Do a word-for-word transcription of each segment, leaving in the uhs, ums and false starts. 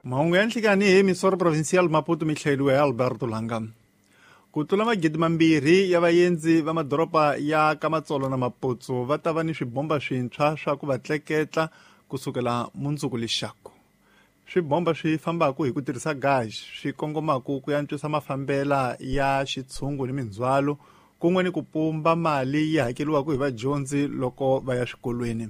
Mahungu ya nhlikani hi Emisora Provincial Maputo mi hlayeriwe hi Alberto Langa. Ku tlula magidi mambirhi ya vaendzi va madoroba ya Kamatsolo na Maputo va ta va ni swibomba swintshwa swa ku va tleketla kusukela mundzuku lexaku. Swibomba swi fambaka hi ku tirhisa gasi swi kongomaka ku antswisa mafambela ya xitshungu ni mindzhwalo kun'we ni ku pumba mali yi hakeriwaka hi vadyondzi loko va ya swikolweni.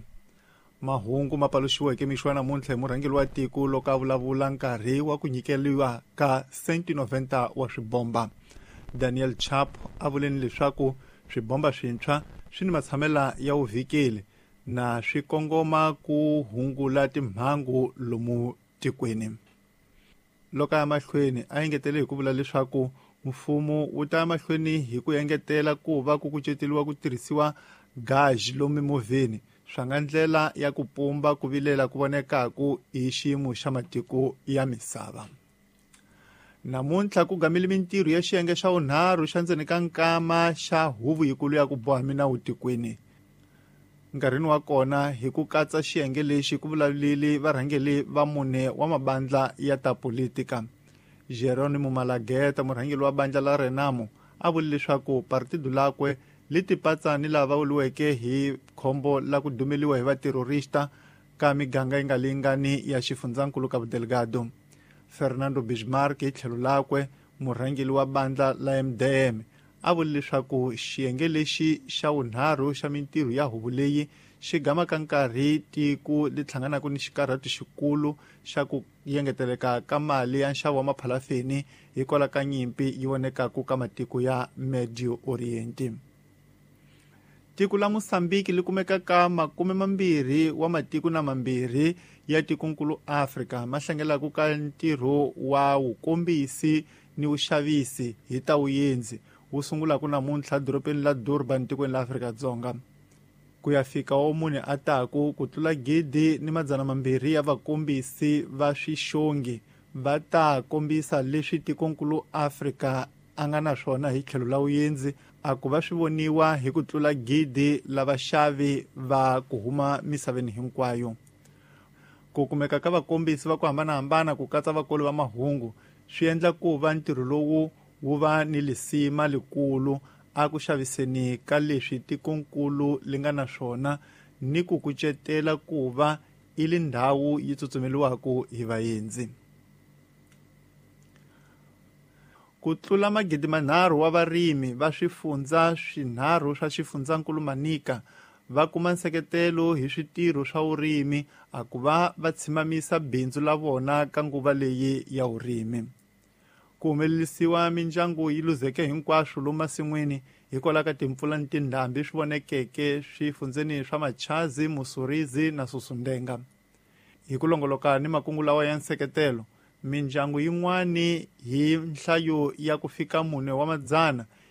Mahungu ma paluxiweke mixo ya namuntlha hi murhangeri wa tiko loko a vulavula nkarhi wa ku nyikeriwa ka cento noventa wa swibomba. Daniel Chapo a vuleni leswaku swibomba swintshwa swi ni matshamela ya vuvhikeli na swi kongoma ku hungula timhangu lomu tikweni. Loko a ya mahlweni a engetele hi ku vula leswaku mfumo wu ta ya mahlweni hi ku engetela ku va ku kuceteriwa ku tirhisiwa gasi lomu mimovheni swa nga ndlela ya ku pumba ku vilela ku vonekaku hi xiyimo xa matiko ya misava. Namuntlha ku gamile mintirho ya xiyenge xa vunharhu xa ndzeni ka nkama xa huvo yikulu ya ku boha minawu tikweni. Nkarhini wa kona hi ku katsa xiyenge lexi ku vulavulile varhangeri va mune wa mabandla ya ta politika. Jerónimo Malageta, murhangeri wa bandla la Renamo, a vule leswaku partido lakwe li tipatsa ni lava vuriweke hi khombo la ku dumeliwa hi vaterrorista ka miganga yi nga lingani ya xifundzankulu Cabo Delgado. Fernando Bismarck hi tlhelo lakwe, murhangeri wa bandla la M D M, a vule leswaku xiyenge lexi xa vunharhu xa mintirho ya huvo leyi xi gamaka nkarhi tiko li hlanganaka ni xikarhato xikulu xa ku yengeteleka ka mali ya nxavo wa maphalafeni hikwalaho ka nyimpi yi vonekaku ka matiko ya Medio Oriente. Tiko la Mozambique li kumeka ka makume mambirhi wa matiko na mambirhi ya tikonkulu Afrika ma hlangelaka ka ntirho wa wukombisi ni vuxavisi hi ta vuendzi wu sungulaka namuntlha dorobeni la Durban tikweni la Afrika-Dzonga. Ku ya fika wa mune a taku ku tlula gidi ni madzana mambirhi ya vakombisi va swixongi va ta kombisa leswi tikonkulu Afrika a nga na swona hi tlhelo la vuendzi a ku va swi voniwa hi ku tlula gidi la vaxavi va ku huma misaveni hinkwayo. Ku kumeka ka vakombisi va ku hambanahambana ku katsa vakoli va mahungu swi endla ku va ntirho lowu wu va ni lisima likulu a ku xaviseni ka leswi tikonkulu li nga na swona ni ku kucetela ku va i li ndhawu yi tsutsumeliwaka hi vaendzi. Ku tlula magidi manharhu wa varimi va swifundza swinharhu swa xifundzankulu Manica va kuma nseketelo hi switirho swa vurimi a ku va va tshimamisa bindzu la vona ka nguva leyi ya vurimi. Ku humelerisiwa mindyangu yi luzeke hinkwaswo lomu masin'wini hikwalaho ka timpfula ni tindhambi swi vonekeke swifundzeni swa Machazi, Musurizi na Susundenga. Hi ku longoloka ni makungu lawa ya nseketelo, mindyangu yin'wani hi nhlayo ya ku fika mune wa madzana